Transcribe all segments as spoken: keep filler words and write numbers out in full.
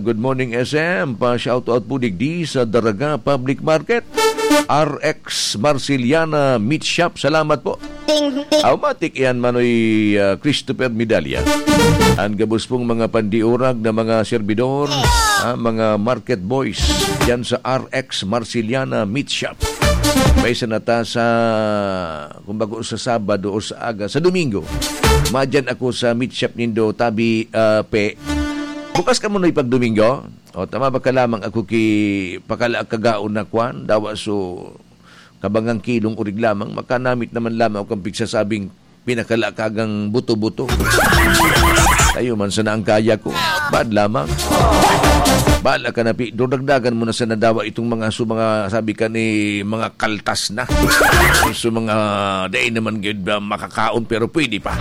Good morning, S M. Pa-shoutout po digdi sa Daraga Public Market. R X Marceliana Meat Shop. Salamat po. Ting, ting. Automatic yan, Manoy, ah, Christopher Medalla. Ang gabos pong mga pandiurag na mga servidor, ah, mga market boys, dyan sa R X Marceliana Meat Shop. May sanata sa, kumbaga, sa Sabado o sa aga, sa Domingo. Madyan ako sa meat shop nindo, tabi, ah, pe. Bukas ka muna ipag Domingo? O, tama ba ka lamang ako ki pakalaag kagaon na kwan? Dawa so, kabangang kilong urig lamang, makanamit naman lamang ako kan pigsasabing pinakalakagang buto-buto. Tayo man sana ang kaya ko. Bad lamang. Bala ka na, pi-, dagdagan mo na sana dawa itong mga su-, mga sabi ka ni mga kaltas na. So mga dai naman gid ba makakaon pero pwede pa.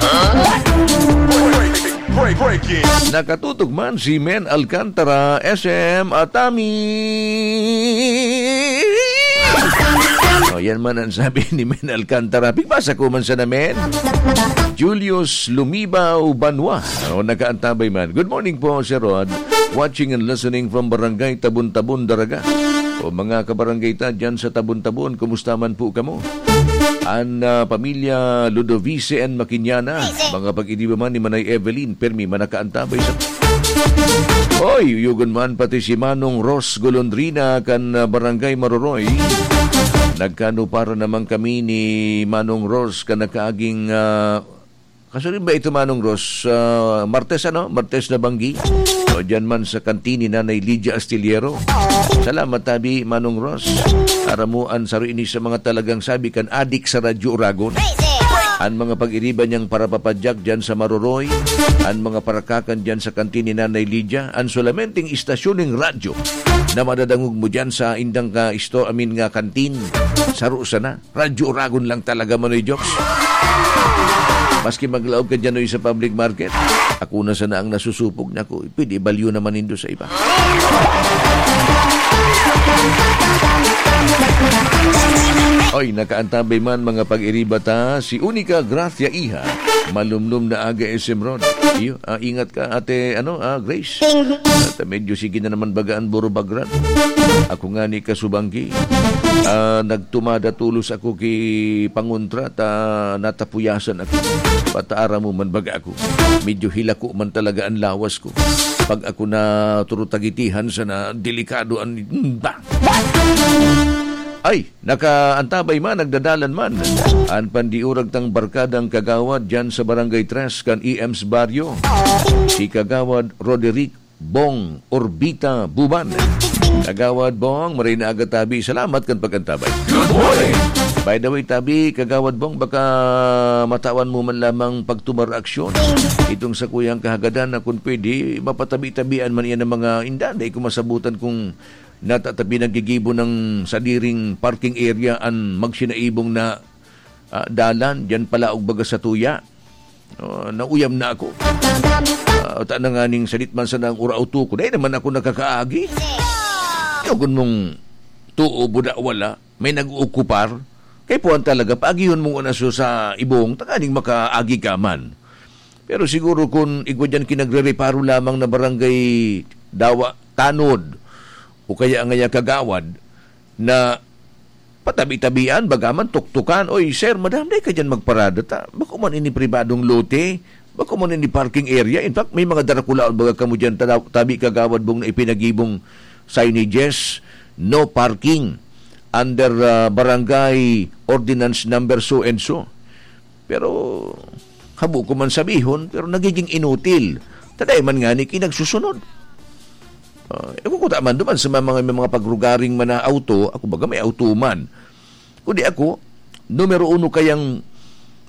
Break, break, breaking. Nakatutok man si Men Alcantara, S M Atami. O, yan man ang sabi ni Men Alcantara. Pigbasa ko man sa namin. Julius Lumibaw Banwa. O, nakaantabay man. Good morning po, Sir Rod. Watching and listening from Barangay Tabon-Tabon, Daraga. O, mga kabarangay ta dyan sa Tabon-Tabon, kumusta man po kamo? An, ah, pamilya Ludovice and Makinyana, mga pag-iriba man ni Manay Evelyn, permi man nakaantabay sa... Oy, yugon man pati si Manong Ros Golondrina kan, ah, Barangay Maroroy. Nagkano para naman kami ni Manong Ros kan nakaaging, ah, kaso rin ba ito, Manong Ros? Ah, Martes, ano? Martes na banggi. O, dyan man sa kantin ni Nanay Lydia Astillero. Salamat, tabi, Manong Ros. Aram mo, an saro ini sa mga talagang sabi kan adik sa Radyo Uragon. An mga pag-iriba niyang parapapadyak dyan sa Maroroy, an mga parakakan dyan sa kantin ni Nanay Lydia, an solamenteng istasyon ning radyo na madadangog mo dyan sa indang ka isto-, I mean nga kantin, saro sana. Radyo Uragon lang talaga, Manoy Jokes. Maski maglaog ka dyan, oy, sa public market, ako na sana ang nasusupog na ko. Pwede ibalyo naman nindo sa iba. Oy, nakaantabay man, mga pag-iriba ta, si Unica Gracia Iha, malumlom na aga, S M Rod. Iyo, ah, ingat ka, Ate, ano, ah, Grace. At medyo sige na naman baga an burubagran. Ako nga ni kasubanggi, ah, nagtumada tulos ako ki pangontra ta natapuyasan ako. Pataara mo man baga ako. Medyo hilako man talaga an lawas ko. Pag ako na turutagitihan sana, delikado an, ba? Ay, nakaantabay man, nagdadalan man. An pandiurag tang barkadang kagawad dyan sa Barangay Tres kan E M's Barrio. Si Kagawad Roderick Bong Orbita Buban. Kagawad Bong, maray na aga, tabi. Salamat kan pag-antabay. Good morning! By the way, tabi, Kagawad Bong, baka matawan mo man lamang pagtumar aksyon. Itong sa kuyang kahagadan na kung pwede, mapatabi-tabian man iyan ng mga indan. Dai ko masabutan kung natatabi naggigibo ng sadiring parking area an magsinaibong na, ah, dalan, diyan pala og baga sa tuya. Oh, nauyam na ako. Ah, ta na nganing sadit man sana ang ura auto ko. Dai naman ako nakakaagi. Yagon mong tuo, buda, wala. May nag-ookupar. Kay puwan talaga, paagihon mong unaso sa ibong, tanganing makaagi ka man. Pero siguro kun igwa diyan kinagrereparo lamang na barangay dawa tanod, o kaya ngaya kagawad, na patabi-tabian, bagaman tuktukan, "Oy, sir, madam, dai ka diyan magparada ta. Bako man ini pribadong lote, bako man ini parking area." In fact, may mga darakulaon baga kamo diyan, tada-, tabi kagawad bong na ipinagibong signages, "No parking under, ah, barangay ordinance number so and so." Pero habo ko man sabihon, pero nagiging inutil. Ta dai man ngani ki nagsusunod. Ah, ako kuta man duman sa mga, mga, mga pagrugaring man na auto, ako baga may auto man. Kundi ako, numero uno kayang,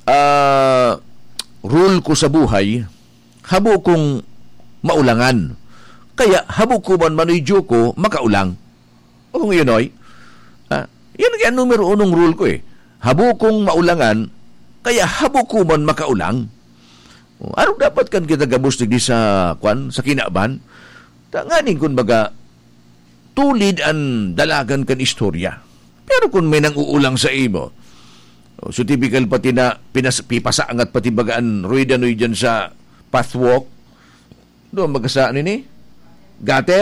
ah, rule ko sa buhay, habo kong maulangan. Kaya habo ko man manuyjo ko makaulang. O kung iyon, oy. Ah, yan kaya numero unong rule ko eh. Habo kong maulangan, kaya habo ko man makaulang. O, arog dapat kan kita gabos digdi sa, kwan, sa kinaban. Tanganing kun baga, tulid an dalagan kan istorya. Pero kun may nang-uulang sa imo, o, so typical pati na pinas-, pipasangat pati baga an rueda noy dyan sa pathwalk, doon magkasa nini? Gutter?